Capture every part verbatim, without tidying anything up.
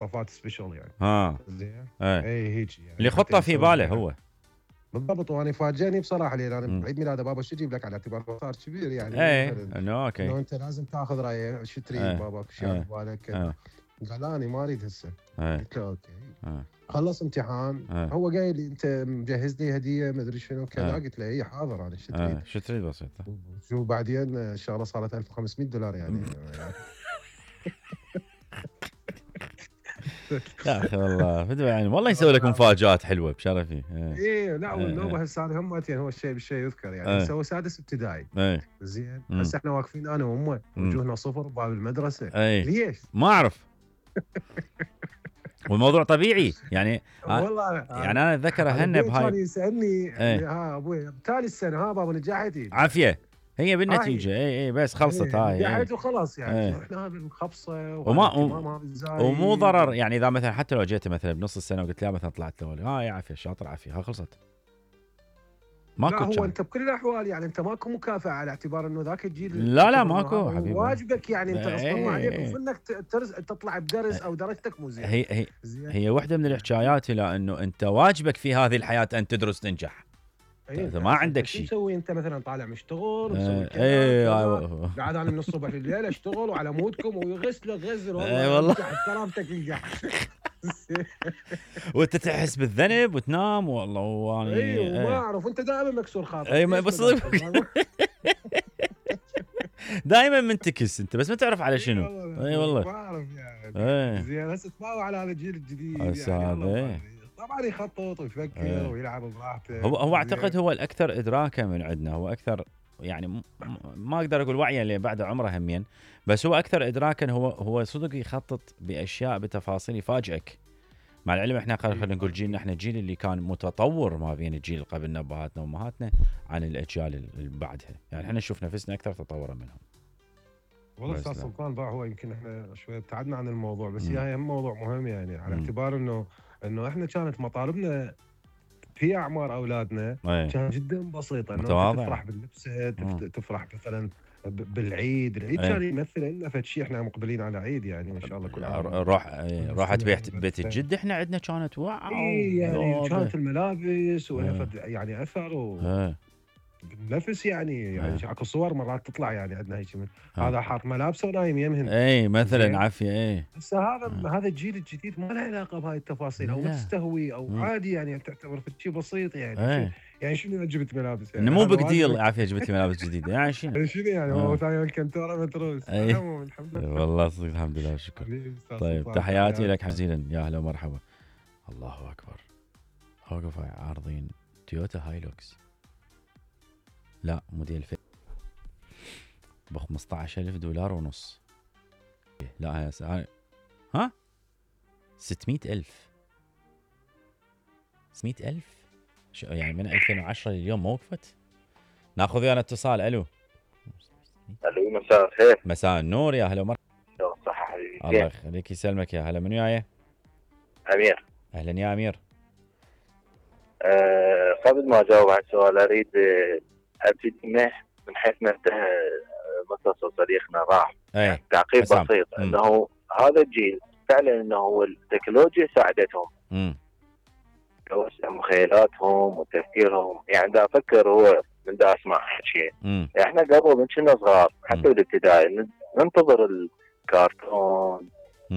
مواصفات سبيشال يعني. ها زين اي اي هيك يعني اللي خطه في باله هو بالضبط. وانا فاجئني بصراحه لان انا بعيد ميلاده بابا شو اجيب لك على اعتبار صار كبير يعني اي مثلا انه اوكي انه انت لازم تاخذ رايه شو تريد بابا شو على بالك كذا. قال لا انا ما اريد هسه. قلت له اوكي أه. خلص امتحان أه. هو قايل لي انت مجهز لي هديه ما ادري شنو كذا. أه. قلت له اي حاضر انا شو تريد؟ أه. شو تريد بسيطه. شو بعدين الشغله صارت ألف وخمسمية دولار يعني. يا اخي والله بدو يعني والله يسوي لك مفاجات حلوه بشرفي. ايه لا والنوبه هسه انا همتين هو الشيء بالشيء يذكر يعني هسه هو سادس ابتدائي. زين هسه احنا واقفين انا وامه وجوهنا صفر بباب المدرسه. ليش؟ ما اعرف. والموضوع طبيعي يعني. والله يعني انا اتذكر هنا بهاي كان يسالني ها ابوي بتالي السنه ها بابا نجحتي عافيه هي بالنتيجه اي اي بس خلصت هاي نجحت وخلاص يعني رحنا بالخبصه وما ومو ضرر يعني اذا مثلا حتى لو جيت مثلا بنص السنه وقلت لا مثلا طلعت الاول ها يا عافيه شاطر عافيه ها خلصت. ماكو لا هو انت بكل الاحوال يعني انت ماكو مكافاه على اعتبار انه ذاك الجيل لا لا ماكو حبيبي واجبك يعني انت غصبا ما عليك وانك تطلع بدرس او درجتك مو زين. هي هي هي واحده من الحكايات الى انه انت واجبك في هذه الحياه ان تدرس تنجح. انت ما عندك شيء تسوي انت مثلا طالع مشتغل مسوي كذا اي قاعد انا من الصبح لليل اشتغل وعلى مودكم ويغسل غزل والله, والله. نجح بكرامتك نجح. وانت تحس بالذنب وتنام والله وانا اي وما اعرف وانت دائما مكسور خاطرك. اي بس دائما منتكس انت بس ما تعرف على شنو. اي والله ما اعرف يعني زين هسه تباوع على هذا الجيل الجديد يعني طبعا يخطط ويفكر أيه. ويلعب براحته. هو هو اعتقد هو الاكثر ادراكا من عندنا هو اكثر يعني ما اقدر اقول وعيا اللي بعد عمره همين بس هو اكثر ادراكا هو هو صدق يخطط باشياء بتفاصيل يفاجئك. مع العلم احنا خلينا نقول جيلنا احنا الجيل اللي كان متطور ما بين الجيل اللي قبلنا ابهاتنا وامهاتنا عن الاجيال اللي بعدها يعني احنا نشوف نفسنا اكثر تطورا منهم. والله استاذ سلطان بقى هو يمكن احنا شويه ابتعدنا عن الموضوع بس هي هم موضوع مهم يعني على م. اعتبار انه انه احنا كانت مطالبنا في اعمار اولادنا كانت جدا بسيطه انه تفرح باللبسه تفرح مثلا بالعيد العيد كان يمثل لنا فد شيء احنا مقبلين على عيد يعني ان شاء الله كل عام. روح راحت بيت بيت الجد احنا عندنا كانت واو يعني كانت الملابس ولها يعني اثر و بالنفس يعني يعني اكو صور مرات تطلع يعني عندنا هيك من هذا حاط ملابسه ونايم يمهن اي مثلا عافيه اي هسه هذا هذا الجيل الجديد ما له علاقه بهاي التفاصيل او مستهوي او مم. عادي يعني تعتبر شيء بسيط يعني شو يعني شنو جبت ملابس يعني مو بيج ديل عافيه جبت ملابس جديده يعني شنو شنو يعني هو ثاني الكنتوره متروس الحمد لله والله صدق الحمد لله شكرا. طيب تحياتي لك جزيلا يا اهلا ومرحبا. الله اكبر اوقف عارضين تويوتا هايلوكس لا موديل في ب خمسطعش ألف دولار ونص. لا هاي سعر ها ستمية ألف ستمية ألف شو يعني من ألفين وعشرة لليوم ما وقفت. ناخذ ويانا اتصال. الو الو مساء الخير. مساء النور يا هلا ومرحبا. صح حبيبي الله يخليك يسلمك يا هلا. من وياي؟ امير. اهلا يا امير. أه قبل ما اجاوب على السؤال اريد ابتدي من حيث ما انتهى متصل صديقنا راح يعني تعقيب بسيط م. انه هذا الجيل فعلا انه هو التكنولوجيا ساعدتهم م. توسع مخيلاتهم وتفكيرهم يعني دا افكر هو من دا اسمع شيء احنا قبل من كنا صغار حتى بالابتدائي ننتظر الكرتون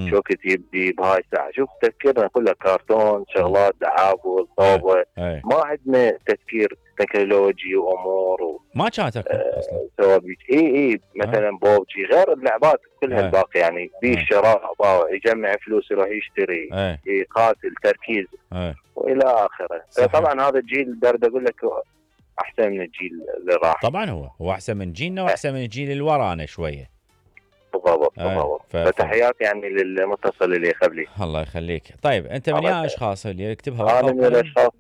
شو كتب دي بهاي الساعه شوف تفكيرنا كله كرتون شغلات دعابل صوبه ما عندنا تفكير تكنولوجي وامور و... ما كانت اصلا سوابيك اي اي مثلا بوبجي غير اللعبات كلها الباقي يعني بيه شراء يجمع فلوس يروح يشتري يقاتل تركيز أي. والى اخره. طبعا هذا الجيل برد اقول لك احسن من الجيل اللي راح. طبعا هو هو احسن من جيلنا واحسن من الجيل اللي ورانا شويه. بالضبط بالضبط. ف... فتحياتي يعني للمتصل اللي قبلي. الله يخليك. طيب انت من يا اشخاص اللي يكتبها انا من الاشخاص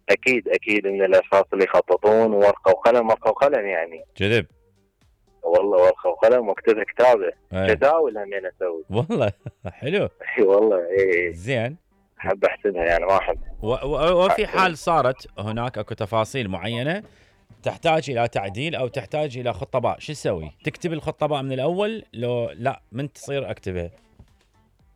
اكيد اكيد من الاشخاص اللي يخططون ورقه وقلم ورقه وقلم يعني كذب والله ورقه وقلم واكتب كتابه جداول همين اسوي والله حلو اي والله اي زين احب احسبها يعني ما احب و... و... وفي حال صارت هناك اكو تفاصيل معينه تحتاج الى تعديل او تحتاج الى خطه باء شو تسوي؟ تكتب الخطه باء من الاول لو لا من تصير اكتبها